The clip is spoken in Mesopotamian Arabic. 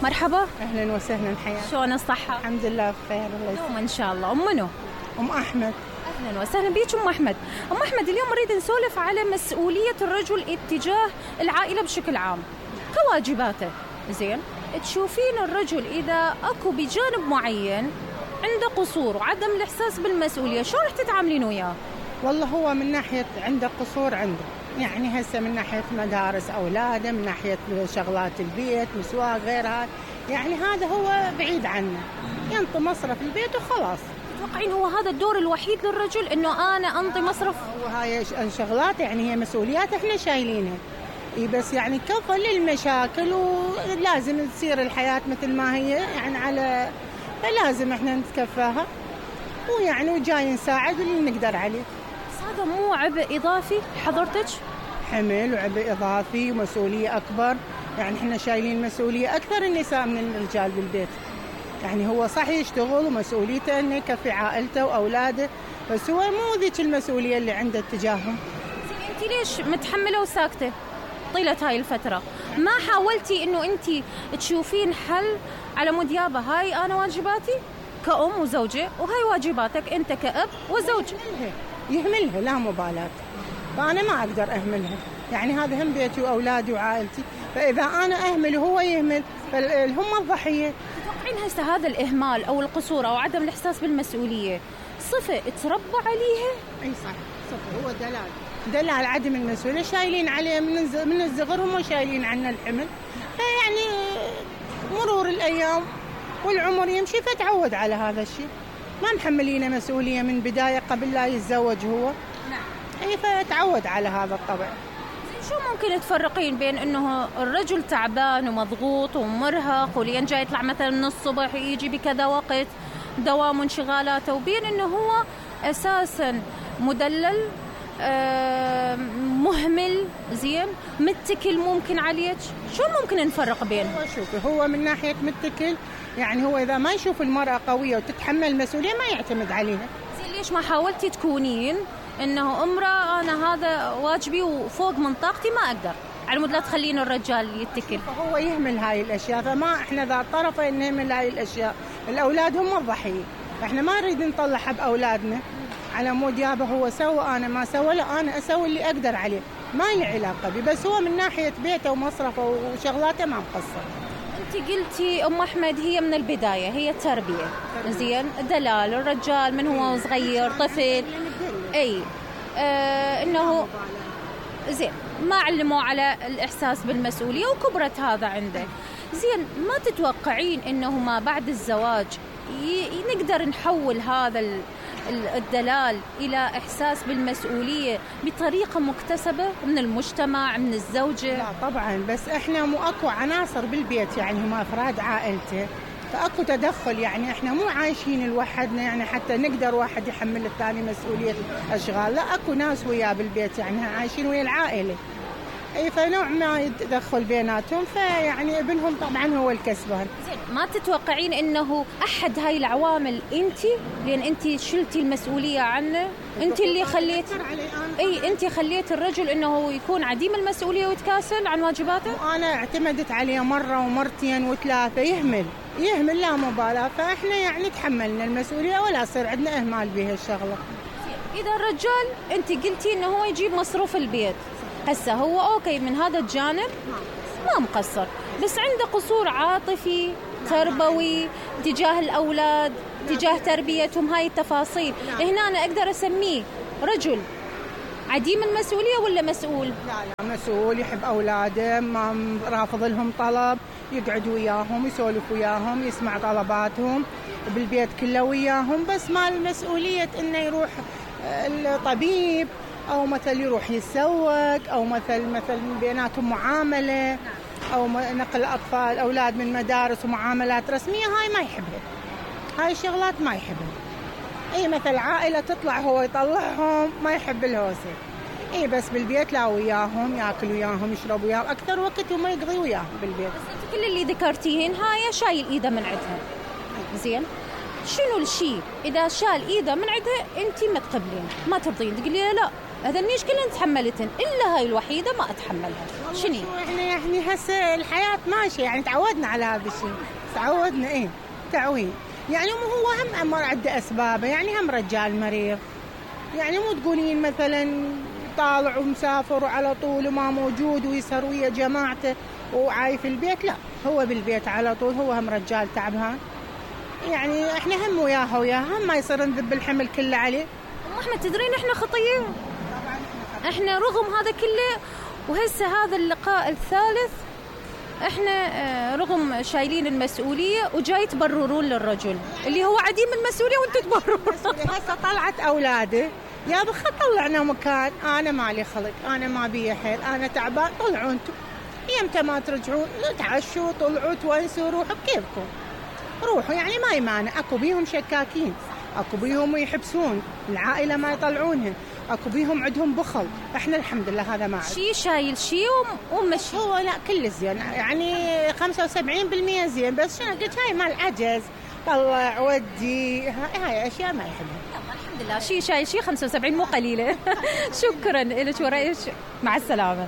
مرحبا. اهلا وسهلا حياك. شلون الصحة؟ الحمد لله بخير الله يسلمك. يوم ان شاء الله. منو؟ احمد. اهلا وسهلا بيك ام احمد. ام احمد اليوم نريد نسولف على مسؤولية الرجل اتجاه العائلة بشكل عام كواجباته. زين، تشوفين الرجل اذا اكو بجانب معين عنده قصور وعدم الاحساس بالمسؤولية شو رح تتعاملين وياه؟ والله هو من ناحية عنده قصور عنده، يعني هسه من ناحية مدارس أولاده، من ناحية شغلات البيت مسواق غيرها، يعني هذا هو بعيد عنه، ينطي مصرف البيت وخلاص. تتوقعين هو هذا الدور الوحيد للرجل انه انا انطي مصرف؟ وهاي الشغلات يعني هي مسؤوليات احنا شايلينها، بس يعني كفى للمشاكل ولازم تصير الحياة مثل ما هي يعني على، فلازم احنا نتكفاها ويعني وجاي نساعد اللي نقدر عليه. هذا مو عبء إضافي حضرتك؟ حمل وعبء إضافي ومسؤولية أكبر، يعني إحنا شايلين مسؤولية أكثر النساء من الرجال بالبيت. يعني هو صح يشتغل ومسؤوليته إنه يكفي عائلته وأولاده، بس هو مو ذيك المسؤولية اللي عنده تجاههم. أنت ليش متحملة وساكتة طيلة هاي الفترة؟ ما حاولتي إنه أنت تشوفين حل على مود يابا هاي أنا واجباتي كأم وزوجة وهاي واجباتك أنت كأب وزوج؟ يهملها لا مبالاة، فأنا ما أقدر أهملها، يعني هذا هم بيتي وأولادي وعائلتي، فإذا أنا أهمل وهو يهمل فهم الضحية. تتوقعين هسه هذا الإهمال أو القصور أو عدم الإحساس بالمسؤولية صفة تربى عليها؟ أي صح، صفة، هو دلال عدم المسؤولية، شايلين عليه من الصغر هم شايلين عنا الحمل، فيعني مرور الأيام والعمر يمشي فتعود على هذا الشيء، ما محملينه مسؤولية من بداية قبل لا يتزوج هو. نعم. أي فتعود على هذا الطبع. شو ممكن تفرقين بين إنه الرجل تعبان ومضغوط ومرهق ولين جاي يطلع مثلا من الصبح يجي بكذا وقت دوام وانشغالاته، وبين إنه هو أساسا مدلل مهمل زين متكل ممكن عليك؟ شو ممكن نفرق بينهم؟ شوفي هو من ناحية متكل، يعني هو إذا ما يشوف المرأة قوية وتتحمل المسؤولية ما يعتمد عليها. زين، ليش ما حاولتي تكونين إنه امرأة أنا هذا واجبي وفوق من طاقتي ما أقدر، على مود لا تخلين الرجال يتكل؟ فهو يهمل هاي الأشياء، فما إحنا ذا طرفة إن نهمل هاي الأشياء، الأولاد هم الضحية، إحنا ما نريد نطلعها بأولادنا على مود يابا هو سوى أنا ما سوى، لا أنا أسوي اللي أقدر عليه، ما لي علاقة بي، بس هو من ناحية بيته ومصرفه وشغلاته ما مقصر. أنت قلتي أم أحمد هي من البداية هي التربية، زين دلال الرجال من هو صغير طفل أي إنه زين ما علموا على الإحساس بالمسؤولية وكبرت هذا عنده. زين، ما تتوقعين إنه ما بعد الزواج نقدر نحول هذا الدلال إلى إحساس بالمسؤولية بطريقة مكتسبة من المجتمع من الزوجة؟ لا طبعا، بس إحنا مو أكو عناصر بالبيت، يعني هم أفراد عائلته، فأكو تدخل، يعني إحنا مو عايشين لوحدنا يعني حتى نقدر واحد يحمل الثاني مسؤولية أشغال، لا أكو ناس وياه بالبيت يعني عايشين ويا العائلة، أي فنوع ما يتدخل بيناتهم، فيعني ابنهم طبعا هو الكسبان. ما تتوقعين إنه أحد هاي العوامل أنتي، لأن أنتي شلتي المسؤولية عنه، أنتي اللي أنتي خليت الرجل إنه يكون عديم المسؤولية ويتكاسل عن واجباته؟ وأنا اعتمدت عليه مرة ومرتين وثلاثة، يهمل لا مبالاة، فإحنا يعني تحملنا المسؤولية ولا يصير عندنا إهمال بها الشغلة. إذا الرجال أنتي قلتي إنه هو يجيب مصروف البيت، هسه هو أوكي من هذا الجانب ما مقصر، بس عنده قصور عاطفي تربوي تجاه الأولاد تجاه تربيتهم، هاي التفاصيل هنا أنا أقدر أسميه رجل عديم المسؤولية ولا مسؤول؟ لا مسؤول، يحب أولاده، ما رافض لهم طلب، يقعد وياهم يسولف وياهم يسمع طلباتهم وبالبيت كله وياهم، بس ما المسؤولية إنه يروح الطبيب أو مثل يروح يتسوق أو مثل بيناتهم معاملة أو نقل أطفال أولاد من مدارس ومعاملات رسمية، هاي ما يحبها، هاي الشغلات ما يحبها. أي مثل عائلة تطلع هو يطلعهم ما يحب الهوسة، أي بس بالبيت لا وياهم يأكل وياهم يشرب وياهم أكثر وقت وما يقضي وياهم بالبيت. بس كل اللي ذكرتيهن هاي شايل إيده من عندها، زين شنو الشيء إذا شال إيده من عندها أنتي ما تقبلين ما ترضين تقولي لا هذا النيش كلهن تحملتن إلا هاي الوحيدة ما أتحملها؟ شنو؟ احنا يعني هسه الحياة ماشية، يعني تعودنا على هذا الشيء، تعودنا تعويد. يعني هو هم أمر عنده أسبابه، يعني هم رجال مريض، يعني مو تقولين مثلا طالع ومسافر وعلى طول وما موجود ويسهر ويا جماعته وعاي في البيت، لا هو بالبيت على طول، هو هم رجال تعبان. يعني احنا هم وياها هم ما يصير نذب الحمل كله عليه. احنا تدرين احنا خطية، احنا رغم هذا كله وهسه هذا اللقاء الثالث احنا رغم شايلين المسؤولية وجاي تبررون للرجل اللي هو عديم المسؤولية وانتم تبررون. هسه طلعت اولاده يا بخ طلعنا مكان، انا مالي خلق، انا ما بي حيل، انا تعبان، طلعوا انتم يمتى ما ترجعون تعشوا طلعوا تونسوا روحوا بكيفكم روحوا. يعني ما يمانع، اكو بيهم شكاكين، اكو بيهم يحبسون العائلة ما يطلعونها، اكو بيهم عندهم بخل، احنا الحمد لله هذا ما عندنا. شي شايل شي ومشي. هو لا كل زين، يعني 75% زين، بس شنو قلت هاي مال عجز، طلع ودي هاي اشياء ما يحبها. الحمد لله شي شايل شي 75 مو قليلة. شكرا لك ورأيك، مع السلامة.